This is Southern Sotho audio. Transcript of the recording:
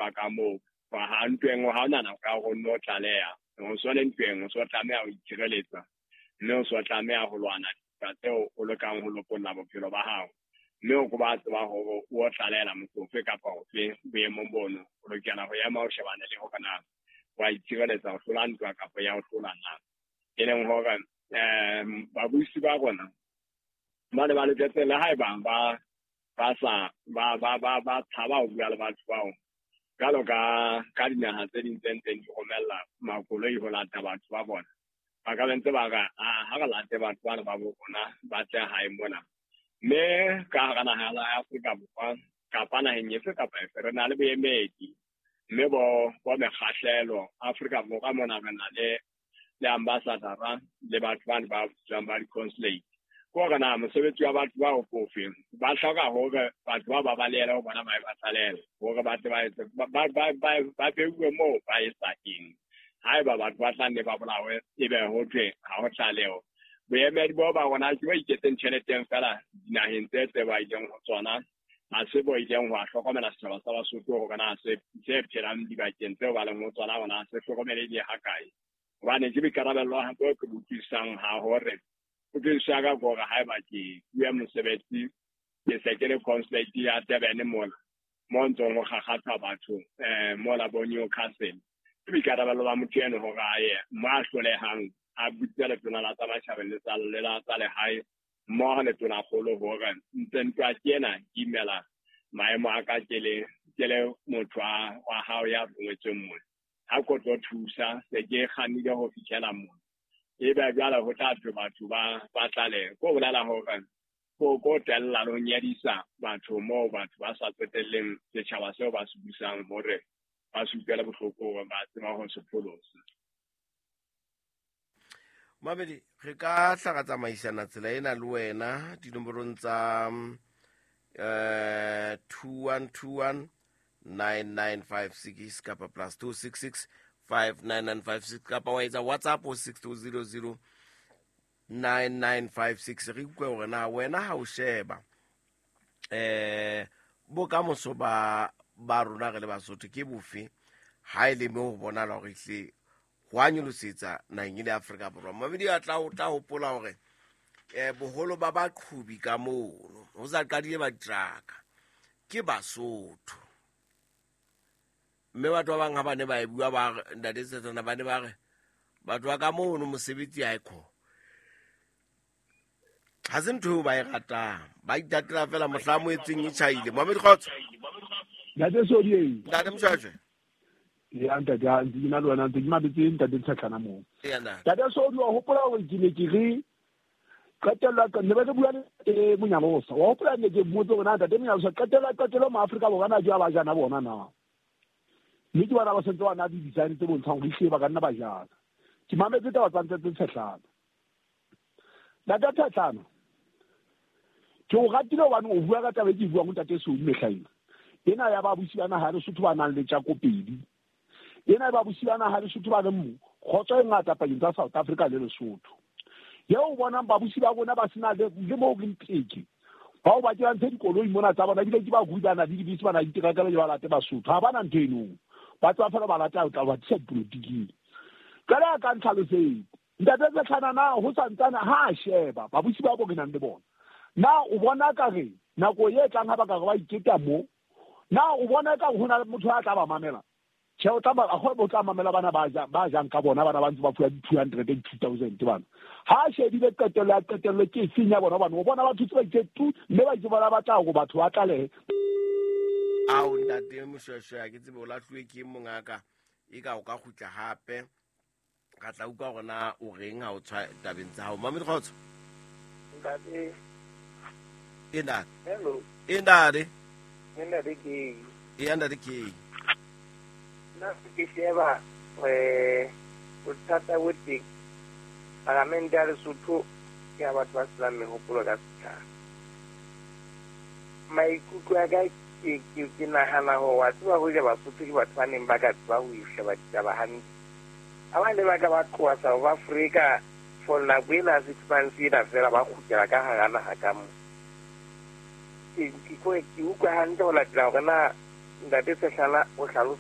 ntwa ka moo. Ha ntweng ha ona nako ya hore o nno tlaleha. O so le ntweng, o so tlameha ho itshireletsa, mme o so tlameha ho lwana dintwa tseo o lekang ho lopolla bophelo ba hao. Mme o ko ba tseba hore o tlalehela motho ofe kapa ofe boemong bono, o lokela ho ema o shebane le hore na wa itshireletsa ho hlola ntwa kapa ya ho hlola na. E leng hore babusi ba rona ba ne ba loketse le haeba ba ba sa ba ba ba ba tshaba ho bua le batho bao jwalo ka dinaha tse ding tse ntseng di romella makoloi ho lata batho ba bona. Ba ka be ntse ba re, ha re late batho bana ba bo rona ba tle hae mona. Mme ka hara naha ya Afrika Borwa kapa naheng efe kapa efe re na le boemedi, mme bo mekgahlelo Afrika Borwa mona re na le ambassadora le batho bane ba bitswang ba di-consulate. Ke hore na mosebetsi wa batho bao ke ofe? Ba hloka hore batho bao ba balehele ho bona ba e ba tlalehele, hore ba tle ba etse ba beuwe moo ba etsa eng. Haeba batho ba tla nne ba bolawe, ebe ho thwe ha ho tlaleho. Boemedi bo ba rona ke bo iketseng tjheleteng feela dinaheng tse tse ba ileng ho tsona, ha se bo ileng ho a hlokomela setjhaba sa Basotho hore na se phelang dibakeng tseo ba leng ho tsona hore na se hlokomelehile hakae. Hobane ke boikarabello bo ke bo utlwisisang ha hore utlwisiso ya ka ke hore haeba ke fuwe mosebetsi, ke se ke le consulate ya Durban mola, mo ntsong ho kgakgatha batho mola bo Newcastle. Ke boikarabello ba motho eno hore a ye mo a hlolehang, a butse letona la tsa matjhabeng le tsa le la tsa lehae mmoho le tonakgolo hore ntse ntwa ke ena ke imela maemo a ka ke le motho wa hao ya rongwetsweng mona. Ha ko tlo thusa, se ke kgannile ho fihlela mona. Ebe jwale ho tla thwe batho ba tlalehe. Ko bolela hore ko tella le ho nyedisa batho moo batho ba sa tsotelleng setjhaba seo ba se busang hore ba se utlwele bohloko hore ba tseba ho se pholosa. Mamedi, re ka hla ra tsamaisana tsela ena le wena dinomorong tsa 2121 9956 kapa plus 266 59956 kapa wa etsa WhatsApp ho 6200 9956. Re utlwe hore na wena ha o sheba bokamoso ba rona re le Basotho ke bofe, ha e le mo ho bonahala hore ehlile ho a nyolosetsa naheng e le Afrika Borwa. Mamedi a tla hopola hore boholo ba baqhubi ka mono ho sa qadile ba diteraka ke Basotho. Mme batho ba bang ha ba ne ba e bua ba re, Ntate Setsana, ba ne ba re batho ba ka mono mosebetsi ha e kho. Ha se ntho eo ba e ratang, ba itatela fela mohla mo etseng e tjhaile. Mamedi kgotso. Ntate Sodi. Ntate Mshwashwe. Ya ntate, ntse ke na le wena, ntse ke mametse ntate Tshetlana moo. Ntate Sodi, wa hopola hore ke ne ke re qetella ne ba re bua le Monyalosa. Wa hopola ne ke mmotse hore na ntate Monyalosa qetella mo Afrika Borwa na jwa ba jana bona na. Mme ke bona ba sentse ba na di design tse bontshang hore ehlile ba ka nna ba jana. Ke mametse taba tsa ntate Tshetlana. Ntate Tshetlana, ke o ratile hobane o bua ka taba e ke buang ho ntate Sodi mehla ena. Ena ya babusi ba naha ya Lesotho ba nang le tjako pedi. Ena ya babusi ba naha ya Lesotho ba leng kgotso e ngata pakeng tsa South Africa le Lesotho. Eo o bonang babusi ba rona ba sena le moo re nteke. Bao ba ke ba ntshe dikoloi mona tsa bona, ebile ke ba rui ba na le dibese, ba na le diterakele, ba late Basotho. Ha ba na ntho eno. Ba tswa fela ba lata ho tla ba tlisa dipolotiking. Jwale a ka ntlhalosetse. Ntate Tshetlana, na ho santsane ha a sheba babusi ba bo re nang le bona. Na o bona ka re nako e tlang ha ba ka re ba iketa mo, na o bona ka ho na le motho a tla ba mamela? Tjhe, o tla ba o tla mamela bana ba jang ka bona, bana ba ntse ba fuwa 200 2000 bana. Ha a shebile qetello ya qetello ke efeng ya bona, hobane o bona batho tse ba itse tu, mme ba itse bona ba tla hore batho ba tlalehe. Ao ntate Moshweshwe, ha ke tsebe o lahluwe ke mongaka, e ka o ka kgutla hape. Ka tla utlwa hore na o reng ha o tshwa tabeng tsa hao. Mamedi kgotso. Ntate. E ntate. Hello. E ntate. E ntate ke. E ntate ke. Nna ke sheba bothata bo teng. Palamente ya Lesotho ke ya batho ba senang mehopolo ka setjhaba. Maikutlo a ka ke nahana hore wa tseba hoja Basotho ke batho ba neng ba ka tseba ho sheba ditaba hantle. Ha ba ne ba ka ba tloha South Africa for nako ena 6 months ena fela ba kgutlela ka hara naha ka mo. Ke utlwa hantle ho latela hore na Ntate Sehlana o hlalosa.